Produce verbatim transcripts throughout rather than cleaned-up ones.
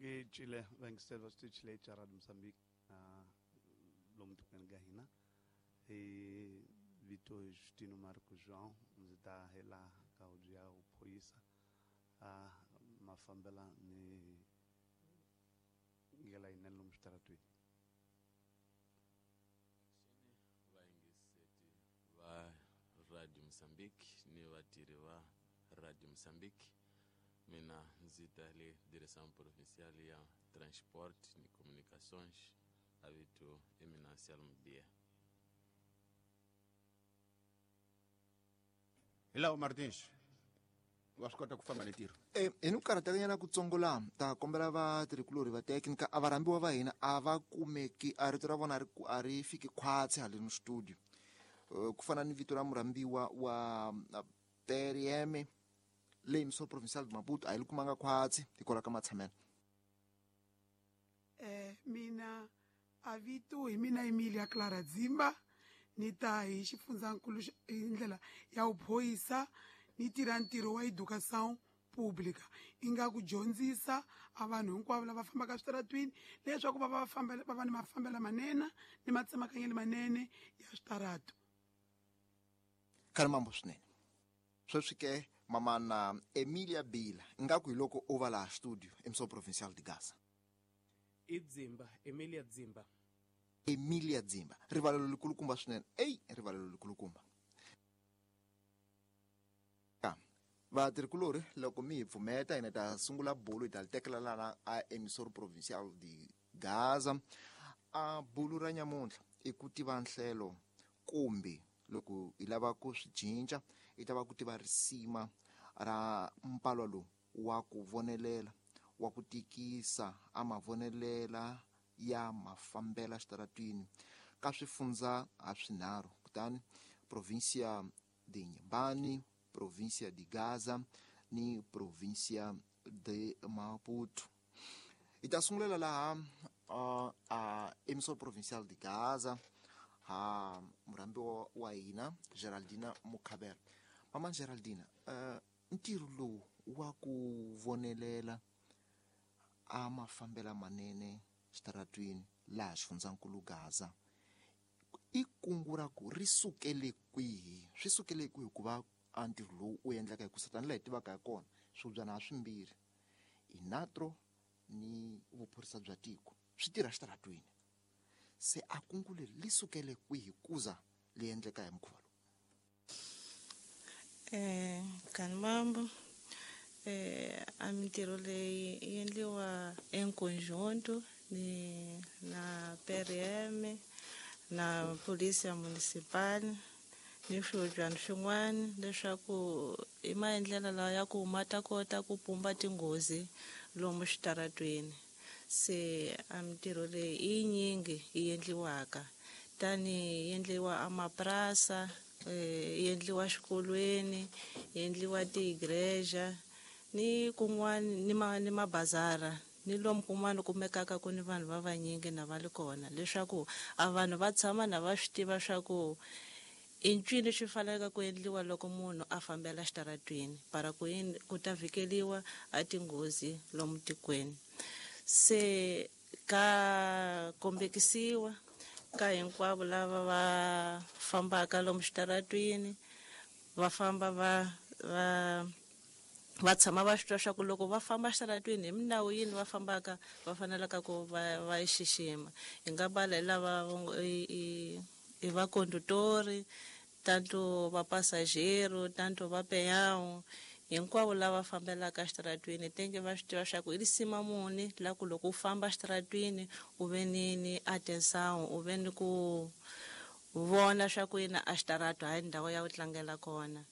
Hi cile vayingiseri va switichi leyi xa Radio Mozambique uh, lomu tikweni ka hina hi vito hi Justino Marco João ndzi ta hela ka huvo ya vuphorisa uh, mafambela ni ndlela yinene lomu switaratweni. Vayingiseti va Radio Mozambique ni vatirhi va Radio Mozambique, mina ndzi ta le Direção Provincial ya Transport ni Comunicações, a vito Eminancial Mudia. Hi lawa Martins wa swi kota ku famba ni ntirho. E hi ni ku karhatekanyana kutsongo laha ta kombela vatirhikulorhi va teknika a varhambiwa va hina a va kumeki a rito ra vona a ri ku- a ri fiki khwatsi haleni studio. Eh, ku fana ni vito ra murhambiwa wa P R M leyi Emissor Provincial de Maputo a yi li kumanga khwatsi hikwalaho ka matshamelo. Eh, mina a vito hi mina Emilia Clara Dzimba, ni ta hi xifundzankulu xa- hi ndlela ya vuphorisa, ni tirha ntirho wa educação pública, ingaku dyondzisa a vanhu hinkwavo lava fambaka switaratwini leswaku va va fambela va va ni mafambelo manene ni matsemakanyelo manene ya switaratu. Khale mambo swinene sweswi ke mamana Emilia Bila ingaku hi loko u va laha studio Emissor Provincial de Gaza. I Dzimba, Emilia Dzimba. Emilia Dzimba, rivalelo likulukumba swinene, eyi rivalelo likulukumba ka vatirhikulorhi. Loko mi hi pfumeta hina ta sungula bulu, hi ta li tekela lana a Emissor Provincial de Gaza. A bulu ra nyamuntlha i ku tiva nhlelo, kumbe loko hi lava ku swi cinca i ta va ku tiva risima ra mpalwa lowu wa ku vonelela, wa ku tikisa a mavonelela ya mafambela xitaratwini ka swifundza ha swinharhu, kutani provincia de Inhambane, provincia de Gaza ni provincia de Maputo. Hi ta sungulela laha uh, a Emissor Provincial de Gaza ha murhambiwa wa hina Geraldina Mukhabela. Mama Geraldina, uh, ntirho lowu wa ku vonelela a mafambela manene xitaratwini laha xifundzankulu Gaza i kungu ra ku ri sukele kwihi? Swi sukele kwihi ku va a ntirho lowu u endleka? Hi ku tanihi laha hi tivaka hi kona, swibyana ha swimbirhi inatro ni vuphorisa bya tiko swi tirha xitaratwini, se a kungu leri li sukele kwihi kuza li endleka hi mukhuva lowu? Eh, Kanimambo, eh, a mintirho leyi yi endliwa en conjunto ni na P R M na Polícia Municipal ni swihobyana swin'wana, leswaku i maendlelo lawa ya ku ma ta kota ku pumba tinghozi lomu xitaratweni. Se a mintirho leyi i yinyingi yi endliwaka, tani yi endliwa amapurasa, eh, yi endliwa xikolweni, yi endliwa tiigreja ni kun'wana ni ma ni mabazara ni lomu kun'wana kumekaka ku ni vanhu va vanyingi na va li kona, leswaku a vanhu va tshama na va swi tiva swa ku i ncini swi faneleke ku endliwa loko munhu a fambela xitaratwini para ku yini ku ta vhikeliwa a tinghozi lomu tikweni. Se ka kombekisiwa ka hinkwavo lava va fambaka lomu xitaratwini, va famba va va va tshama va swi twa swa ku loko va famba xitaratwini hi minawu yini va fambaka, va fanelaka ku va va yi xixima. Hi nga bala hi lava i i i vakondutori, tanto va passageiro, tanto va peão, hinkwavo lava fambelaka xitaratwini tenge va swi tiva swa ku i risima muni la ku loko u famba xitaratwini u ve ni ni atenção, u ve ni ku vona swa ku yina a xitaratu hayi ndhawu ya ku tlangela kona.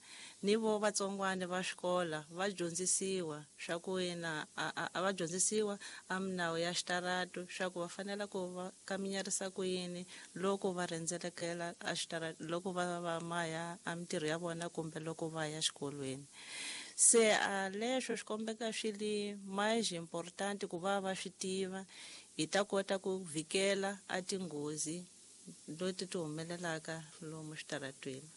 Ni vo vatsongwana va xikola va dyondzisiwa swa ku yina a, a va dyondzisiwa a minawu ya xitaratu, swa ku va fanela ku va kaminyarisa ku yini loko va rhendzelekela a xitaratu, loko va va maya a mintirho ya vona kumbe loko va ya xikolweni. Se a leswo swi kombeka swi li mais importante ku va va swi tiva, hi ta kota ku vhikela a tinghozi leti ti humelelaka lomu xitaratwini.